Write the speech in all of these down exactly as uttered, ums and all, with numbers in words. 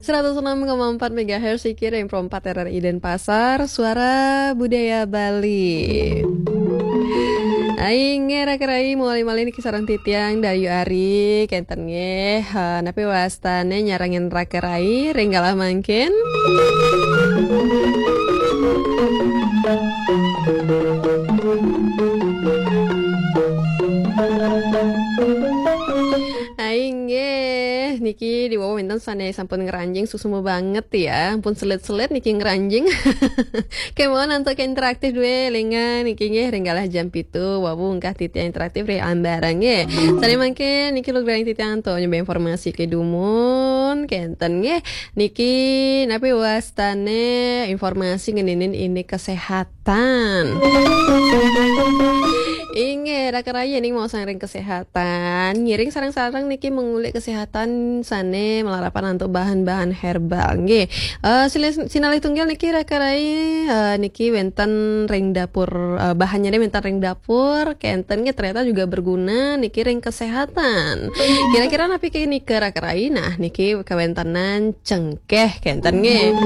Seratus enam koma empat megahertz, Siki, Reng Pro empat R R I Denpasar, Suara Budaya Bali. Ai nggih, Raka Rai, malih-malih niki sareng titiang Dayu Ari, kenten nggih. Eh, napi wastane nyarengin Raka Rai ring galah mangkin? Ai nggih, niki diwawu wenten sane sampun ngranjing, suksma banget ya. Ampun selit-selit niki ngranjing. Kemawon antuk interaktif duwe lingan niki nggih ring galah jam pitu, wawu engkah titiang interaktif ring ambara nggih. Sane mangkin niki lugrahing titiang antuk nyembe informasi kedumun, kenten nggih. Niki napi wastane informasi ngeninin indik kesehatan. Inggih, Raka Rai, ning mau sangring kesehatan, ngiring sareng-sareng niki mengulik kesehatan sane malarapan antuk bahan-bahan herbal. Nggih. Eh, silih, sinalih tunggal niki, Raka Rai, eh, niki wenten ring dapur, eh, bahannya wenten ring dapur, kenten nggih, ternyata juga berguna niki ring kesehatan. Kira-kira napi ke nika, Raka Rai? Nah, niki kawentenan cengkeh, kenten nggih.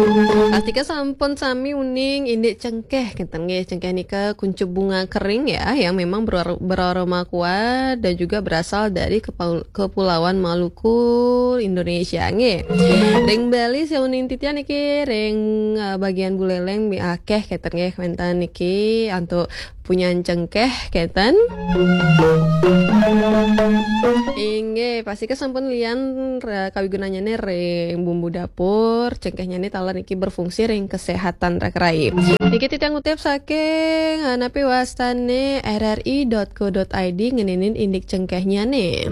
Pastika sampun sami uning indik cengkeh, kenten nggih. Cengkeh nika kuncup bunga kering ya, yang memang beror-, beraroma kuat dan juga berasal dari kepau-, Kepulauan Maluku, Indonesia nggih. Ring Bali, seuning titiang niki ring, eh, bagian Buleleng mi akeh, kenten nggih, wenten niki antuk punyan cengkeh, kenten. Inggih, pastika sampun lian ra-, kawigunannyane ring bumbu dapur, cengkehnyane taler niki berfungsi ring kesehatan, Raka Rai. Niki titiang ngutip saking, eh, napi wastane R R I dot co dot I D ngeninin indik cengkehnyane.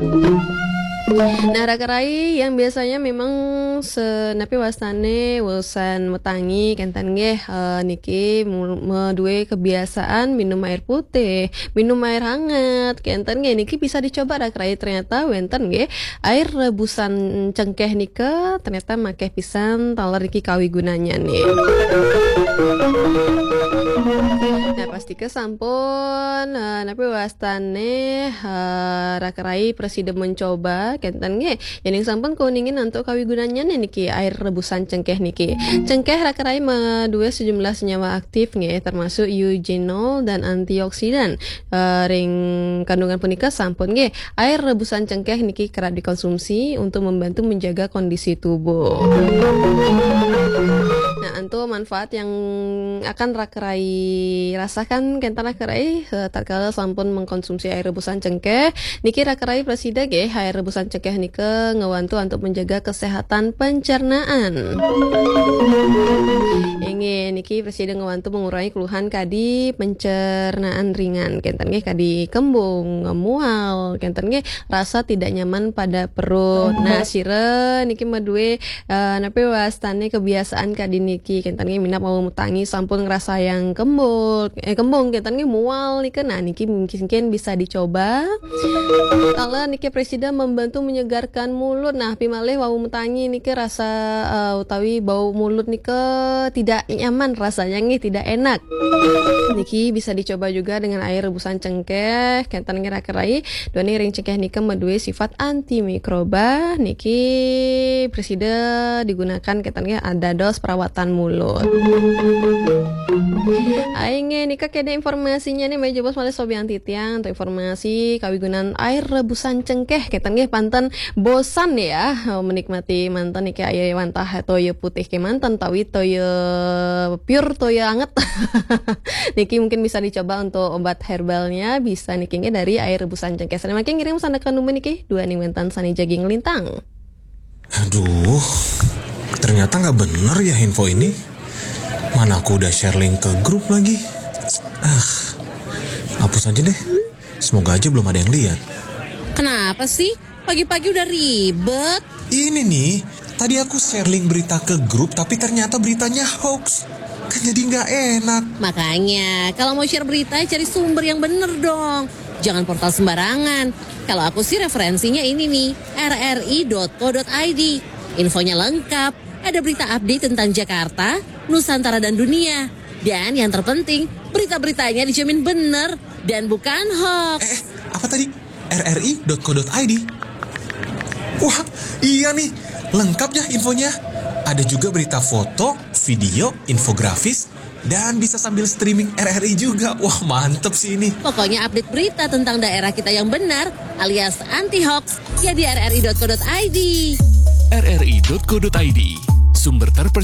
Nah, Raka Rai, yang biasanya memang se-, napi wastane wusan metangi, kenten nggih, eh, niki mu-, maduwe kebiasaan minum air putih, minum air hangat, kenten nggih, niki bisa dicoba, Raka Rai. Ternyata wenten nggih, air rebusan cengkeh nika ternyata makeh pisan taler niki kawigunannyane. Nah, pastika sampun, eh, napi wastane, eh, Raka Rai prasida mencoba, kenten nggih. Yening sampun kauningin antuk kawigunannyane niki air rebusan cengkeh niki. Cengkeh, Raka Rai, maduwe sejumlah senyawa aktif nggih, termasuk eugenol dan antioksidan. Eh, ring kandungan punika sampun nggih, air rebusan cengkeh niki kerap dikonsumsi untuk membantu menjaga kondisi tubuh. Nah, antuk manfaat yang akan Raka Rai rasakan, kenten Raka Rai, eh, tatkala sampun mengkonsumsi air rebusan cengkeh, niki Raka Rai prasida nggih, air rebusan cengkeh nika ngewantu antuk menjaga kesehatan pencernaan. Inggih, niki prasida ngewantu mengurangi keluhan kadi pencernaan ringan, kenten nggih, kadi kembung, mual, kenten nggih, rasa tidak nyaman pada perut. Nah, sira niki maduwe, eh, napi wastane kebiasaan kadi niki, kenten nggih, minab wau metangi sampun ngrasayang kembul, eh, kembung, kenten nggih, mual nika. Nah, niki mungkin bisa dicoba. Taler niki prasida membantu menyegarkan mulut. Nah, pimalih wau metangi niki rasa, eh, utawi bau mulut nika tidak nyaman rasanya nggih, tidak enak. Niki bisa dicoba juga dengan air rebusan cengkeh, kenten nggih, Raka Rai. Duaning ring cengkeh nika maduwe sifat antimikroba, niki prasida digunakan, kenten nggih, dados perawatan mulut. Ai nggih, nika kene informasinya nih, Mbak Jebos malih sobian titiang, untuk informasi kawigunan air rebusan cengkeh, kenten nggih, panten bosan ya, eh, menikmati manten niki, ayo wantah toya putih kemanten, tawi toya pure, toya anget. Niki mungkin bisa dicoba untuk obat herbalnya, bisa niki nggih dari air rebusan cengkeh. Sane mangkin ngiring sandaka numbur niki, duaning wenten sane jagi nglintang. Aduh, ternyata nggak bener ya info ini. Mana aku udah share link ke grup lagi. Ah, hapus aja deh. Semoga aja belum ada yang lihat. Kenapa sih? Pagi-pagi udah ribet. Ini nih, tadi aku share link berita ke grup, tapi ternyata beritanya hoax. Kan jadi nggak enak. Makanya, kalau mau share berita, cari sumber yang bener dong. Jangan portal sembarangan. Kalau aku sih, referensinya ini nih, R R I dot co dot I D. Infonya lengkap, ada berita update tentang Jakarta, Nusantara, dan dunia. Dan yang terpenting, berita-beritanya dijamin bener dan bukan hoax. Eh, eh, apa tadi? R R I dot co dot I D. Wah, iya nih. Lengkap ya infonya. Ada juga berita foto, video, infografis, dan bisa sambil streaming R R I juga. Wah, mantep sih ini. Pokoknya update berita tentang daerah kita yang benar alias anti hoax ya di rri.co.id. rri.co.id, sumber terpercaya.